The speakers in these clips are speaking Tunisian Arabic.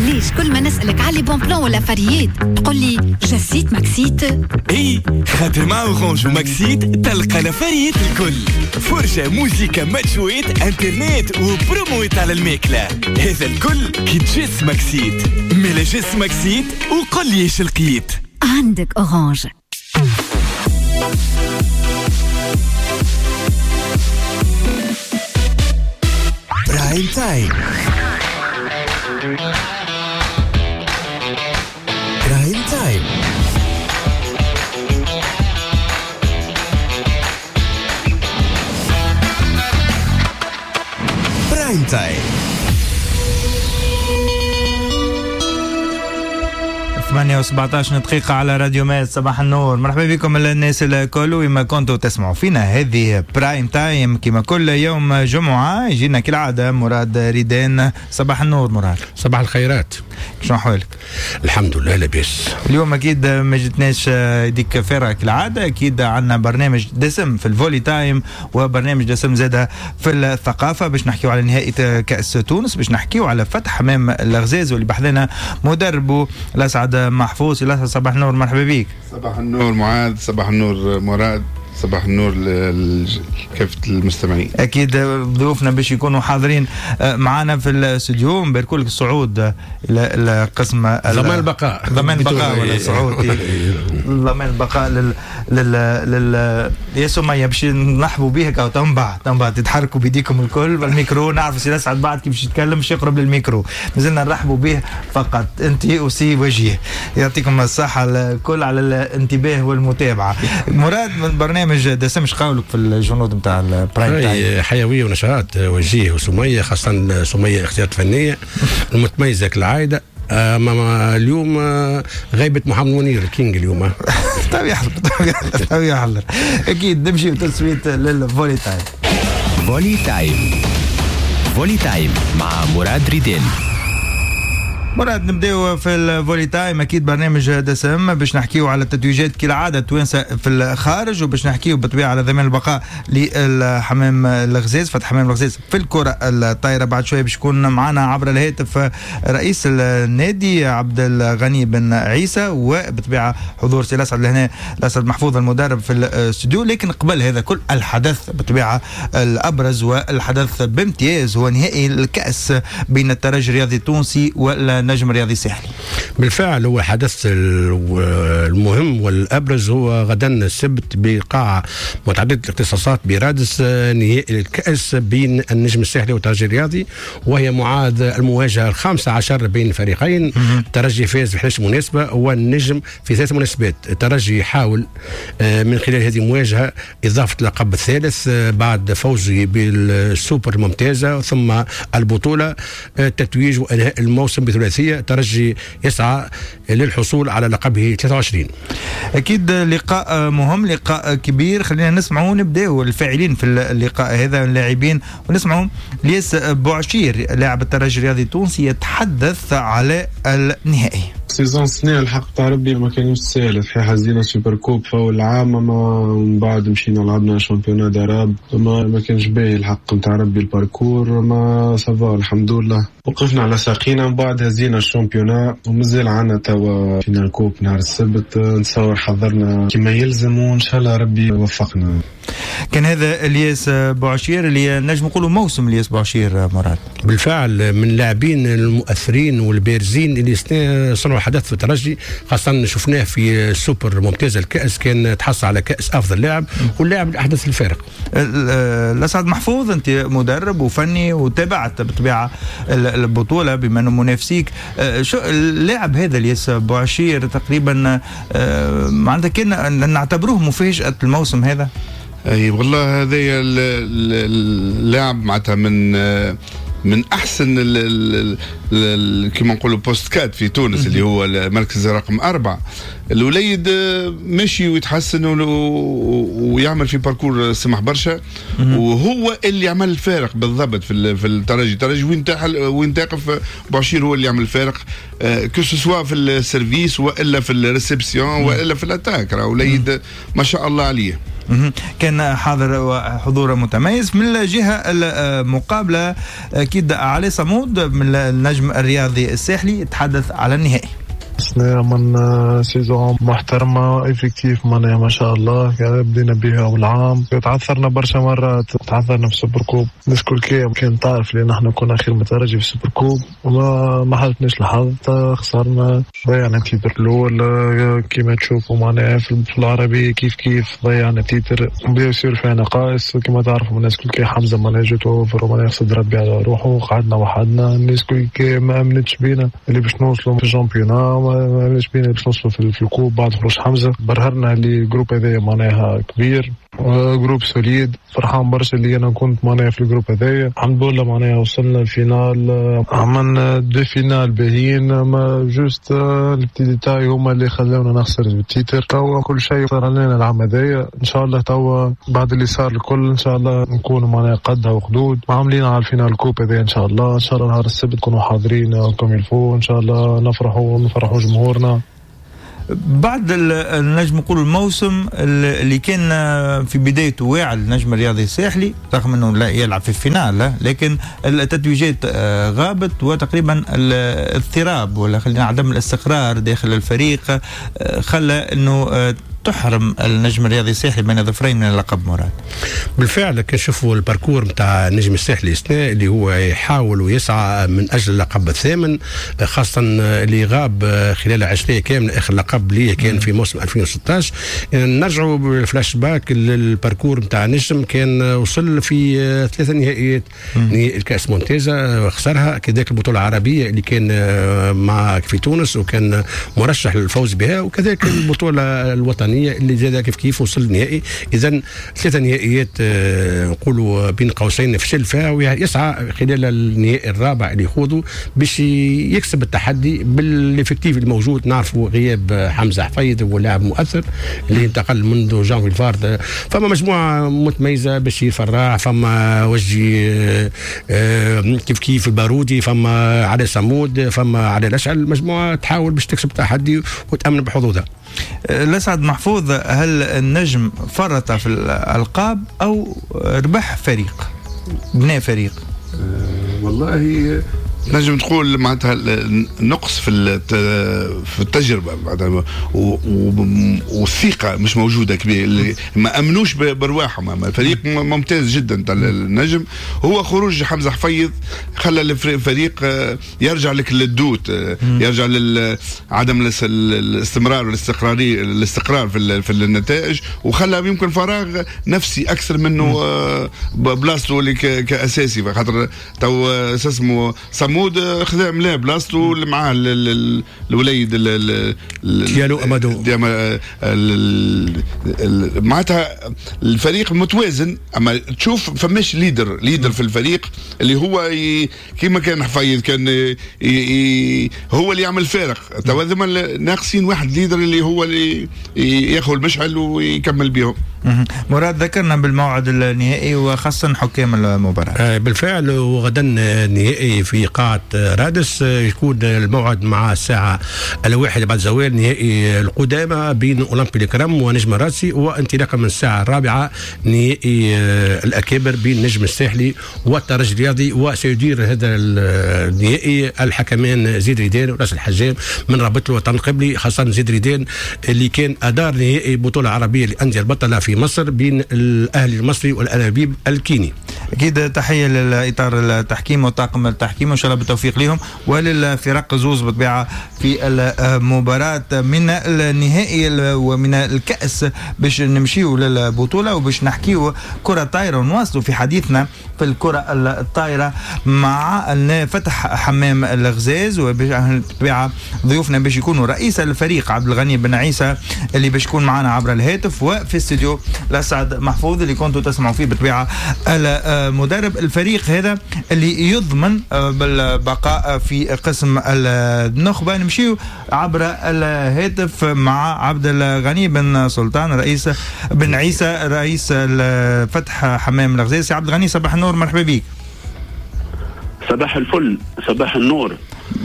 علاش كل ما نسألك على bons plans ولا فريات تقول لي جسيت ماكسيت؟ اي خاطر مع Orange وماكسيت تلقى الافاريات الكل، فرجة، موزيكا، ماتشويت، انترنت وبرومويت على الماكلة، هذا الكل كي تجس ماكسيت. ملا جس ماكسيت وقل لي ايش لقيت. عندك Orange. Prime Time. Prime Time. Prime Time. 8:17 دقيقة على راديو ماد. صباح النور، مرحبا بكم الناس الكل وما كنتوا تسمعوا فينا. هذه Prime Time كما كل يوم جمعة يجينا كالعادة مراد ريدان. صباح النور مراد. صباح الخيرات، شنو أحوالك؟ الحمد لله لاباس. اليوم أكيد ما جتناش يديك فارغة كالعادة، أكيد عندنا برنامج دسم في ال Volley Time وبرنامج دسم زادة في الثقافة باش نحكيو على نهائي كأس تونس، باش نحكيو على فتح حمام الغزاز واللي بحذنا مدربه الأسعد محفوظ. صباح النور، مرحبا بك. صباح النور معاذ، صباح النور مراد، صباح النور لكافة المستمعين. أكيد ضيوفنا باش يكونوا حاضرين معنا في الاستوديو. نبارك لك الصعود إلى القسم ضمان البقاء، ضمان البقاء ولا الصعود ضمان البقاء لل يا سمية باش نرحبوا بيك أو تنبع تتحركوا بيديكم الكل بالميكرو. نعرف سي أسعد بعد كيف يتكلم باش يقرب للميكرو، مازلنا نرحبوا به فقط أنت وسي وجيه. يعطيكم الصحة الكل على الانتباه والمتابعة. مراد من برنامج دسم قولك في الجنود نتاع ال Prime Time؟ حيوية ونشاط وجيه وسميه، خاصة سميه اختيارات فنية المتميزة كالعادة. اما اليوم غيبه محمد منير ال King اليوم. طيب يحضر، طيب يحضر اكيد. نمشي بتصويت لل Volley Time. Volley Time، Volley Time مع مراد ريدين. مراد نبداو في ال Volley Time، اكيد برنامج دسم باش نحكيو على التتويجات كالعادة التوانسة في الخارج، وباش نحكيو بالطبيعة على ضمان البقاء للحمام الغزاز، فتح حمام الغزاز في الكره الطايره. بعد شوية باش يكون معنا عبر الهاتف رئيس النادي عبد الغني بن عيسى، وبالطبيعه حضور سي الاسعد لهنا الاسعد محفوظ المدرب في الاستوديو. لكن قبل هذا كل الحدث بالطبيعة الابرز والحدث بامتياز هو نهائي الكاس بين الترجي الرياضي التونسي وال نجم الرياضي الساحلي. بالفعل هو حدث المهم والابرز هو غدا السبت بقاعه متعددة الاختصاصات برادس، نهائي الكاس بين النجم الساحلي والترجي الرياضي، وهي معاد المواجهة 15 بين الفريقين. الترجي فاز في 11 مناسبة والنجم في 3 مناسبات. الترجي يحاول من خلال هذه المواجهة اضافه اللقب الثالث بعد فوزه بالسوبر الممتازة ثم البطولة، تتويج وانهاء الموسم بثلاثيه. ترجي يسعى للحصول على لقبه 23. أكيد لقاء مهم، لقاء كبير. خلينا نسمعوا نبداو الفاعلين في اللقاء هذا اللاعبين، ونسمعوا ليس بوعشير لاعب الترجي الرياضي التونسي يتحدث على النهائي. saison سنة الحق تاع ربي ما كانش ساهل، صحيح هزينا super coupe في اول عام، اما من بعد مشينا لعبنا championnat d'Arabe، ما كانش باهي الحق نتاع ربي ال parcours، ما ça va الحمد لله وقفنا على ساقينا. من بعد هزينا ال championnat ومازال عندنا توا finale coupe نهار السبت، نتصور حضرنا كما يلزم وان شاء الله ربي يوفقنا. كان هذا الياس بوعشير اللي نجم نقولوا موسم الياس بوعشير مراد. بالفعل من اللاعبين المؤثرين والبارزين اللي صنعوا حدث في الترجي، خاصة شفناه في السوبر ممتاز الكأس، كان تحصل على كأس أفضل لاعب واللاعب اللي أحدث الفارق. الأسعد محفوظ، أنت مدرب وفني وتابعت بالطبيعة البطولة بما أنه منافسيك، شو اللاعب هذا الياس بوعشير تقريبا معناتها كان نعتبروه مفاجأة الموسم هذا؟ اي والله هذا اللاعب معناتها من احسن كيما نقولوا poste quatre في تونس اللي هو المركز رقم 4. الوليد ماشي ويتحسن ويعمل في parcours سمح برشا، وهو اللي عمل الفارق بالضبط في الترجي. الترجي وين تقف بوعشير هو اللي يعمل الفارق، que ce soit في ال service والا في ال réception والا في l'attaque. راه وليد ما شاء الله عليه. كان حاضر وحضور متميز. من الجهة المقابلة اكيد علي صمود من النجم الرياضي الساحلي تحدث على النهائي. السنة عملنا saison محترمة، effectif معناها ما شاء الله، بدينا بها أول عام، تعثرنا برشا مرات، تعثرنا في ال super coupe، الناس الكل كان تعرف اللي نحن كنا خير من الترجي في ال super coupe، وما حالفناش الحظ، خسرنا، ضيعنا titre الأول كيما تشوفوا معناها في العربي كيف كيف ضيعنا titre، bien sûr فيها نقائص كيما تعرفوا الناس الكل، حمزة معناها جات over معناها خسر ربي على روحه، قعدنا وحدنا، الناس الكل ما أمنتش بينا اللي باش نوصلوا في ال championnat، ما أمنتش بينا باش نوصلوا في ال coupe بعد خروج حمزة. برهرنا اللي ال groupe هذايا معناها كبير، groupe solide، فرحان برشا اللي انا كنت معناها في ال groupe هذايا، الحمد لله معناها وصلنا ال finale، عملنا deux finales باهيين، ما juste les petits détails هما اللي خلاونا نخسر ال titre. توا كل شيء صار لنا العام هذايا، ان شاء الله توا بعد اللي صار الكل ان شاء الله نكونوا معناها قدها وقدود، عاملين على ال finale coupe هذايا ان شاء الله، ان شاء الله نهار السبت نكونوا حاضرين comme il faut، ان شاء الله نفرحوا ونفرحوا جمهورنا. بعد النجم نقول الموسم اللي كان في بدايته واعد النجم الرياضي الساحلي، رغم انه لا يلعب في ال finale، لكن التتويجات غابت، وتقريبا الاضطراب ولا خلينا عدم الاستقرار داخل الفريق خلى انه تحرم النجم الرياضي الساحلي بين ظفرين من اللقب. مراد، بالفعل كنشوفوا ال parcours نتاع النجم الساحلي السنة اللي هو يحاول ويسعى من اجل اللقب الثامن، خاصة اللي غاب خلال 20 كاملة، اخر لقب ليه كان في موسم 2016. نرجعوا بال flashback لل parcours نتاع النجم، كان وصل في 3 نهائيات، نهائي الكاس ممتازة خسرها، كذلك البطولة العربية اللي كان مع في تونس وكان مرشح للفوز بها، وكذلك البطولة الوطنية اللي زاد كيف كيف وصل للنهائي. اذا 3 نهائيات نقولوا بين قوسين فشل فيها، ويسعى خلال النهائي الرابع اللي يخوضه باش يكسب التحدي بال effectif الموجود. نعرفوا غياب حمزة حفيظ هو لاعب مؤثر اللي انتقل منذ جانفي الفارد، فما مجموعة متميزة، بشير فراح، فما وجي كيف كيف البارودي، فما علي صمود، فما علي الاشعل، مجموعة تحاول باش تكسب التحدي وتامن بحظوظها. لسعد محفوظ، هل النجم فرط في الألقاب أو ربح فريق، بناء فريق؟ والله نجم تقول معناتها نقص في التجربة معناتها، والثقة مش موجودة كبير، ما امنوش برواحهم. الفريق ممتاز جدا تاع النجم، هو خروج حمزة حفيظ خلى الفريق يرجع لك لل doute، يرجع لعدم الاستمرار والاستقراريه، الاستقرار في النتائج، وخلى يمكن فراغ نفسي اكثر منه بلاصته اللي كاساسي، خاطر تو اسمه صمود خذا ملا بلاصتو اللي معاه الوليد ديالو امادو، معناتها الفريق متوازن. اما تشوف فماش leader في الفريق اللي هو كيما كان حفيظ كان هو اللي يعمل فارق. توا ناقصين واحد leader اللي هو اللي ياخذ المشعل ويكمل بهم. مراد، ذكرنا بالموعد النهائي وخاصة حكام المباراة. بالفعل، وغدا النهائي في قاعة رادس، يكون الموعد مع الساعة 1 بعد زوال، نهائي القدامى بين أولمبي الكرم ونجم الراسي، وانطلاقا من الساعة 4 نهائي الأكابر بين نجم الساحلي والترجي الرياضي. وسيدير هذا النهائي الحكمان زيد ريدان وراس الحجام من رابطة الوطن القبلي، خاصة زيد ريدان اللي كان أدار نهائي بطولة عربية للأندية البطلة في مصر بين الأهلي المصري والأنابيب الكيني. أكيد تحية للإطار التحكيم وطاقم التحكيم، وإن شاء الله بالتوفيق لهم وللفرق زوز بالطبيعة في المباراة من النهائي ومن الكأس باش نمشيو للبطولة وباش نحكيو كرة طايرة ونواصلوا في حديثنا في الكرة الطايرة مع فتح حمام الغزاز، وبالطبيعة ضيوفنا باش يكونوا رئيس الفريق عبد الغني بن عيسى اللي باش يكون معنا عبر الهاتف، وفي استوديو لسعد محفوظ اللي كنتوا تسمعوا فيه بالطبيعة المدرب الفريق هذا اللي يضمن بالبقاء في قسم النخبة. نمشيو عبر الهاتف مع عبد الغني بن سلطان رئيس بن عيسى رئيس فتح حمام الغزاز. عبد الغني صباح النور، مرحبا بك. صباح الفل، صباح النور.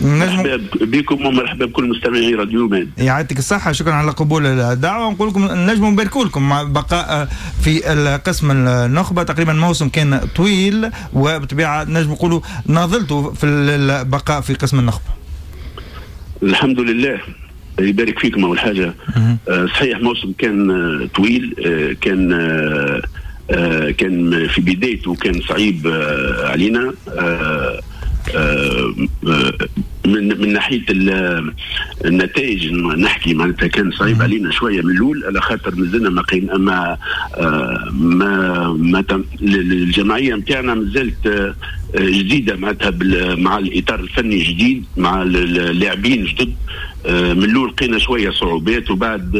مرحبا بكم ومرحبا بكل مستمعي راديو ماد. يعطيك الصحة، شكرا على قبول الدعوة. نقول لكم نجم نباركوا لكم مع بقاء في القسم النخبة، تقريبا موسم كان طويل وبطبيعة نجم نقولوا ناضلتوا في البقاء في قسم النخبة. الحمد لله، يبارك فيكم. أول حاجة صحيح موسم كان طويل، كان في بدايته كان صعيب علينا من ناحية النتائج نحكي، معناتها كان صعيب علينا شوية من الاول على خاطر مازلنا ما ما ما, ما الجمعية نتاعنا مازالت جديدة، معناتها مع الاطار الفني جديد، مع اللاعبين جدد. من الاول لقينا شوية صعوبات، وبعد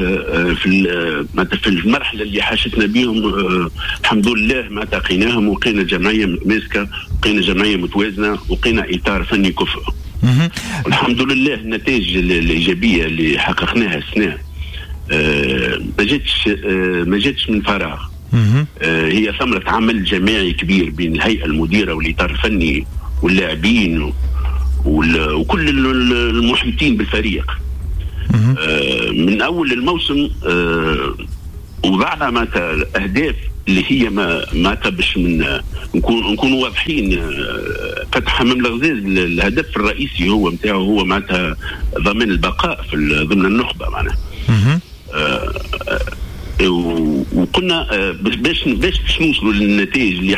في المرحلة اللي حاشتنا بهم الحمد لله ما لقيناهم، ولقينا جمعية متماسكة، لقينا جمعية متوازنة، ولقينا اطار فني كفء. الحمد لله النتائج الايجابية اللي حققناها السنة ما جاتش من فراغ، هي ثمره عمل جماعي كبير بين الهيئة المديرة والاطار الفني واللاعبين وكل المحيطين بالفريق. من اول الموسم وضعنا معناتها الاهداف اللي هي معناتها باش نكونوا واضحين. فتح حمام الغزاز الهدف الرئيسي هو نتاعو هو معناتها ضمان البقاء في ضمن النخبة معناها. وقلنا باش نوصلوا للنتائج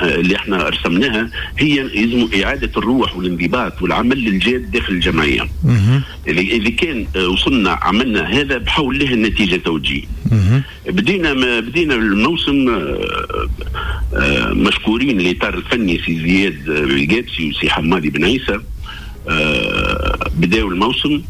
اللي احنا رسمناها هي يلزم اعاده الروح والانضباط والعمل الجاد داخل الجمعية. اذا كان وصلنا عملنا هذا بحول الله النتيجة توجيه. بدينا الموسم مشكورين الاطار الفني سي زياد القابسي وسي حمادي بن عيسى. بداوا الموسم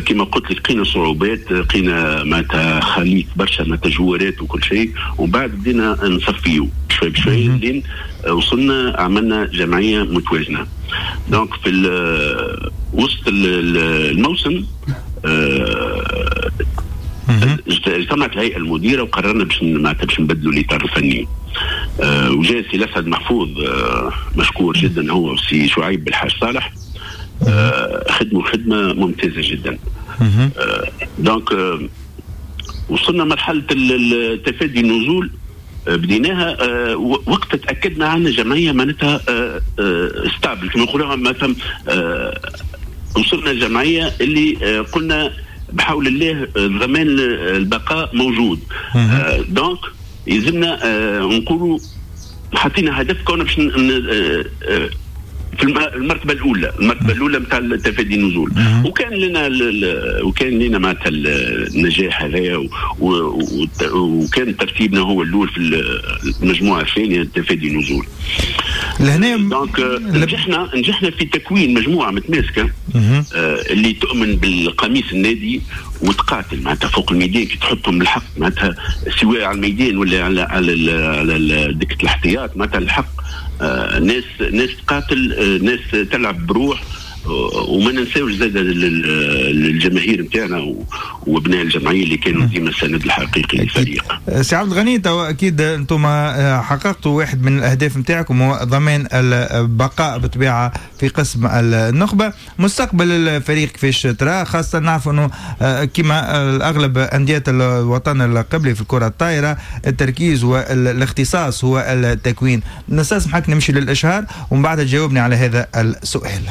كما قلت لك لقينا صعوبات، لقينا معناتها خليط برشا معناتها جوارات وكل شيء، ومن بعد بدينا نصفيو شوي بشوي لين وصلنا عملنا جمعية متوازنة. donc في وسط الموسم اجتمعت الهيئة المديرة وقررنا باش معناتها باش نبدلوا الاطار الفني. وجاء سي الاسعد محفوظ مشكور جدا هو وسي شعيب بالحاج صالح، خدموا خدمة ممتازة جدا. donc وصلنا مرحلة التفادي النزول، بديناها وقت تاكدنا عندنا جمعية معناتها stable كما نقولوها، معناتها وصلنا جمعية اللي قلنا بحول الله ضمان البقاء موجود. donc يلزمنا نقولوا حطينا هدف كون باش في المرتبة الاولى نتاع التفادي النزول. وكان لنا معناتها النجاح هذايا، وكان ترتيبنا هو الاول في المجموعة الثانية تفادي النزول. لهنا donc نجحنا في تكوين مجموعة متماسكة اللي تؤمن بالقميص النادي وتقاتل معناتها فوق الميدان، كي تحطهم الحق معناتها سواء على الميدان ولا على دكه الاحتياط، معناتها الحق ناس تقاتل، ناس تلعب بروح. وما ننساوش زاد الجماهير نتاعنا وابناء الجمعية اللي كانوا ديما السند الحقيقي للفريق. سي عبد الغني، تو اكيد انتم حققتوا واحد من الاهداف نتاعكم هو ضمان البقاء بالطبيعة في قسم النخبة. مستقبل الفريق كيفاش ترى، خاصة نعرف انه كما الاغلب اندية الوطن القبلي في الكره الطايره التركيز والاختصاص هو التكوين. نستسمحك نمشي للاشهار ومن بعد تجاوبني على هذا السؤال.